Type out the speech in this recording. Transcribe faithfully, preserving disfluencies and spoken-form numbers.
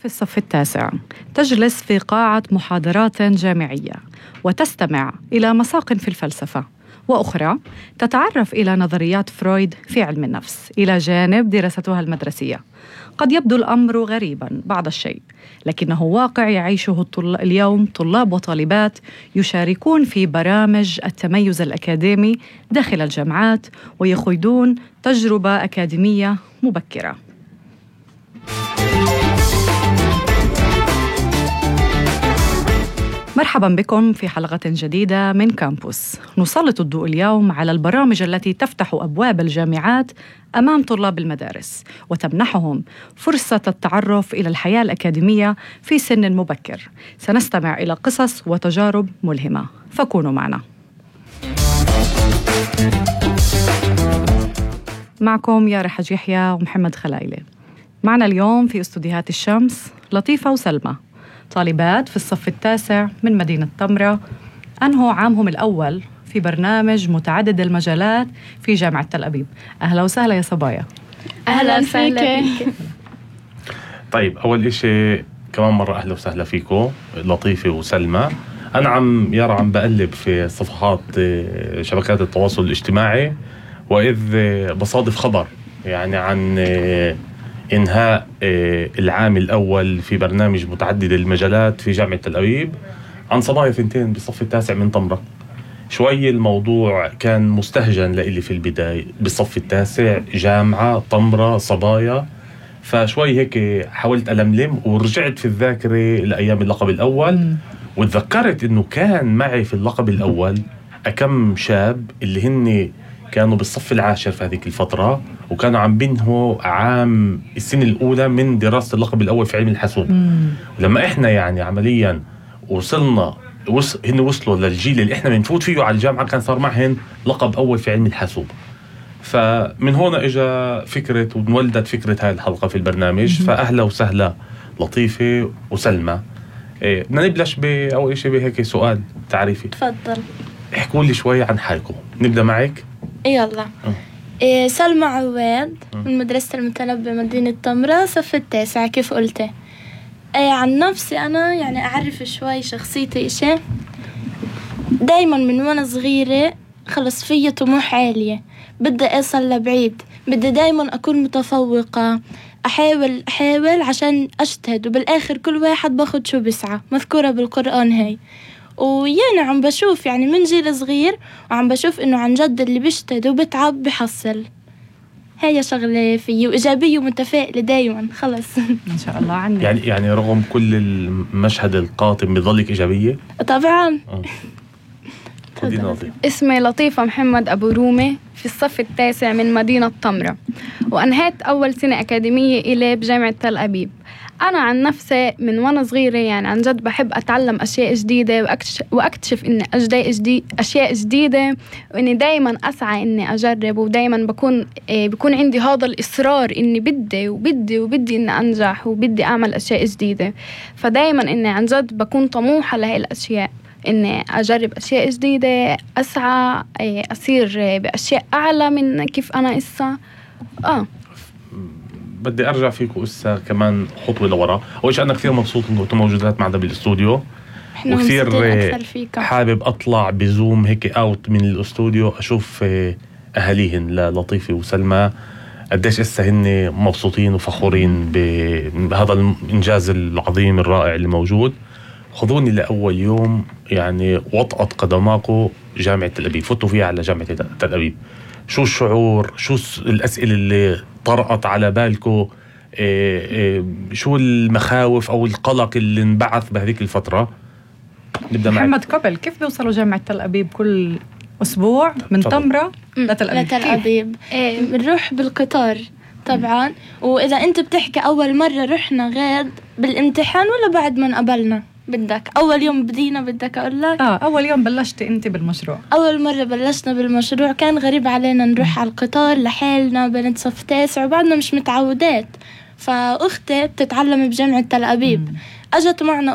في الصف التاسع تجلس في قاعة محاضرات جامعية وتستمع إلى مساق في الفلسفة، وأخرى تتعرف إلى نظريات فرويد في علم النفس إلى جانب دراستها المدرسية. قد يبدو الأمر غريباً بعض الشيء، لكنه واقع يعيشه الطل... اليوم طلاب وطالبات يشاركون في برامج التميز الأكاديمي داخل الجامعات ويخوضون تجربة أكاديمية مبكرة. مرحباً بكم في حلقة جديدة من كامبوس. نسلط الضوء اليوم على البرامج التي تفتح أبواب الجامعات أمام طلاب المدارس وتمنحهم فرصة التعرف إلى الحياة الأكاديمية في سن مبكر. سنستمع إلى قصص وتجارب ملهمة، فكونوا معنا. معكم يارا حج يحيى ومحمد خلايلة. معنا اليوم في استوديوهات الشمس لطيفة وسلمى، طالبات في الصف التاسع من مدينة تمرة، أنهوا عامهم الأول في برنامج متعدد المجالات في جامعة تل أبيب. أهلا وسهلا يا صبايا. أهلا وسهلا فيك. طيب، أول إشي كمان مرة أهلا وسهلا فيكم لطيفة وسلمى. أنا عم يارا عم بقلب في صفحات شبكات التواصل الاجتماعي، وإذ بصادف خبر يعني عن إنهاء العام الأول في برنامج متعدد المجالات في جامعة تل أبيب عن صبايا ثنتين بالصف التاسع من تمرة. شوي الموضوع كان مستهجن لإلي في البداية، بالصف التاسع جامعة تمرة صبايا، فشوي هيك حاولت ألملم ورجعت في الذاكرة لأيام اللقب الأول، وتذكرت إنه كان معي في اللقب الأول أكم شاب اللي هن كانوا بالصف العاشر في هذه الفترة، وكانوا عم بينهوا عام السنة الأولى من دراسة اللقب الأول في علم الحاسوب. لما إحنا يعني عملياً وصلنا وص... هن وصلوا للجيل اللي إحنا بنفوت فيه على الجامعة، كان صار معهن لقب أول في علم الحاسوب. فمن هنا إجا فكرة وانولدت فكرة هاي الحلقة في البرنامج. فأهلا وسهلا لطيفة وسلمى. إيه بدنا نبلش بأول شيء بهيك سؤال تعريفي. تفضل. احكوا لي شوي عن حالكم. نبدأ معك. يلا. إيه سلمى عواد من مدرسة المتنبي مدينة تمرة صف التاسع كيف قلتي. إيه عن نفسي أنا يعني أعرف شوي شخصيتي إشي. دايما من وأنا صغيرة خلص فيا طموح عالية، بدي أصل لبعيد، بدي دايما أكون متفوقة، أحاول أحاول عشان أجتهد، وبالآخر كل واحد باخد شو بسعى، مذكورة بالقرآن هاي. ويانا عم بشوف يعني من جيل صغير وعم بشوف إنه عن جد اللي بيجتهد وبتعب بحصل. هي شغلة فيه وإيجابية ومتفائلة دايما. خلص إن شاء الله عنك. يعني يعني رغم كل المشهد القاتم بظلك إيجابية؟ طبعا. اسمي لطيفة محمد أبو رومي في الصف التاسع من مدينة تمرة، وأنهيت أول سنة أكاديمية إلي بجامعة تل أبيب. أنا عن نفسي من وأنا صغيرة يعني عن جد بحب أتعلم أشياء جديدة وأكتشف, وأكتشف إني أجدي أشياء جديدة، وإني دايما أسعى إني أجرب، ودايما بكون إيه بكون عندي هذا الإصرار إني بدي وبدي وبدي إني أنجح وبدي أعمل أشياء جديدة. فدايما إني عن جد بكون طموحة لهي الأشياء، إني أجرب أشياء جديدة، أسعى إيه أصير بأشياء أعلى من كيف أنا إسا. آه بدي أرجع فيكم إسا كمان خطوة لورا. أول شيء أنا كثير مبسوط إنكم أنتم موجودات معنا بالاستوديو، وكثير حابب أطلع بزوم هيك أوت من الاستوديو أشوف أهاليهن للطيفة وسلمى قديش إسا هن مبسوطين وفخورين بهذا الإنجاز العظيم الرائع اللي موجود. خذوني لأول يوم يعني وطأت قدماكم جامعة تل أبيب، فتوا فيها على جامعة تل أبيب. شو الشعور؟ شو الأسئلة اللي طرقت على بالكم؟ إيه إيه شو المخاوف أو القلق اللي انبعث بهذيك الفترة؟ نبدأ معك محمد. قبل كيف بيوصلوا جامعة تل أبيب كل أسبوع من تمرة لتل أبيب؟ لتل أبيب إيه بنروح بالقطار طبعا. وإذا أنت بتحكي أول مرة رحنا غاد بالامتحان ولا بعد ما قبلنا؟ بدك أول يوم بدينا بدك أقول لك؟ آه أول يوم بلشت أنت بالمشروع. أول مرة بلشنا بالمشروع كان غريب علينا نروح على القطار لحالنا بنت صف تاسع وبعدنا مش متعودات. فأختي بتتعلم بجامعة تل أبيب، أجت معنا